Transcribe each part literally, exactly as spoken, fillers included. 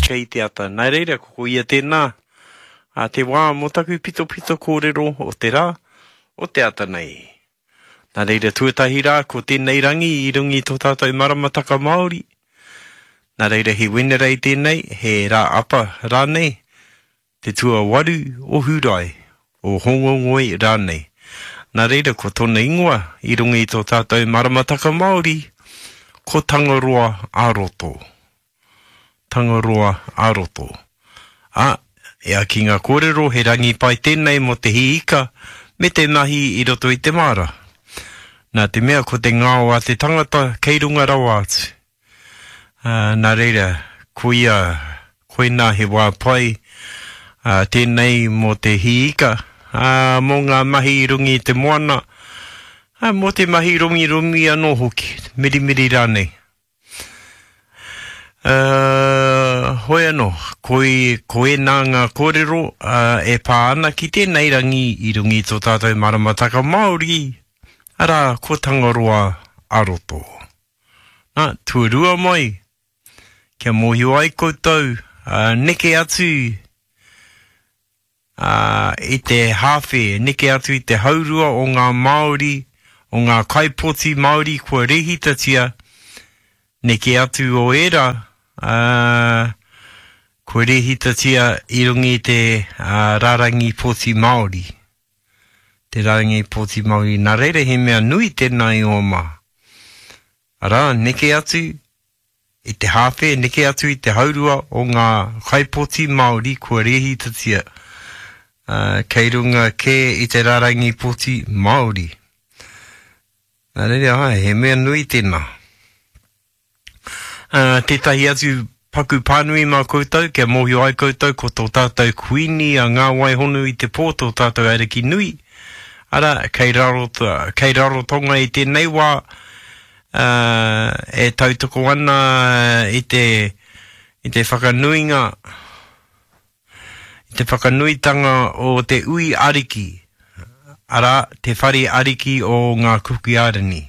Kei te ata. Nā reira, ko ia tēnā, a te wā mō taku pitopito kōrero o te rā, o te ata nei. Nā reira, tuatahi rā, ko tēnei rangi i runga i tō tātou maramataka Māori. Nā reira, he Wenerei tēnei, he rā apa rānei, te tuawaru o Hūrae, o Hōngongoi rānei. Nā reira, ko tōna ingoa i runga i tō tātou maramataka Māori, ko Tangaroa ā-roto. Tangaroa ā-roto. Ā, e ai ki ngā kōrero, he rangi pai tēnei mō te hī ika me te mahi i roto i te māra. Nā te mea ko te ngao a te tangata kei runga rawa atu. Ā, nā reira, koia, koinā he wā pai ā, tēnei mō te hī ika, ā, mō ngā mahi i runga i te moana, ā, mō te mahi romiromi anō hoki, mirimiri rānei. Uh, hoi anō, koi, ko ēnā ngā kōrero uh, e pā ana ki tēnei rangi i runga i tō tātou maramataka Māori, arā, ko Tangaroa a-roto. Nā, tuarua mai, kia mōhio ai koutou, uh, neke atu ā, i te hāwhe, neke atu i te haurua o ngā Māori, o ngā kaipoti Māori kua rēhitatia, neke atu o ērā, ā, kua rēhitatia i runga i te ā, rārangi pōti Māori. Te rārangi pōti Māori. Nā reira he mea nui tēnā i ō mā. Arā, neke atu i te hāwhe, neke atu i te haurua o ngā kaipoti Māori kua rēhitatia, ā, kei runga kē i te rārangi poti Māori. Nā reira, āe, he mea nui tēnā. Ā, tētahi atu paku pānui mā koutou, kia mōhio ai koutou ko tō tātou Kuini a Ngā Waihonu i te pō tō tātou Ariki nui, arā, kei raro, kei Rarotonga i tēnei wā, ā, e tautoko ana i te, i te whakanuinga, i te whakanuitanga o te ui ariki, arā, te whare ariki o ngā Kuki Airani.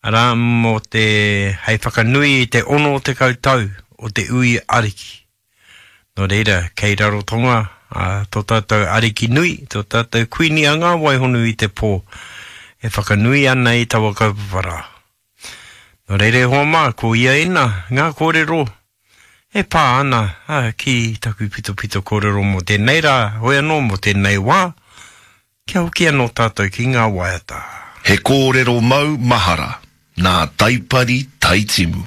Arā, mō te, hei whakanui i te ono tekau tau o te ui ariki. Nō reira, kei Rarotonga ā, tō tātou ariki nui, tō tātou kuini a Ngā Waihonu i te pō, e whakanui ana i taua kaupapa rā. Nō reira e hoa mā, ko ia ēnā, ngā kōrero e pā ana ā, ki taku pitopito kōrero mō tēnei rā, hoi anō mō tēnei wā, kia hoki anō tātou ki ngā waiata. He kōrero mau mahara nā Taipari Taitimu.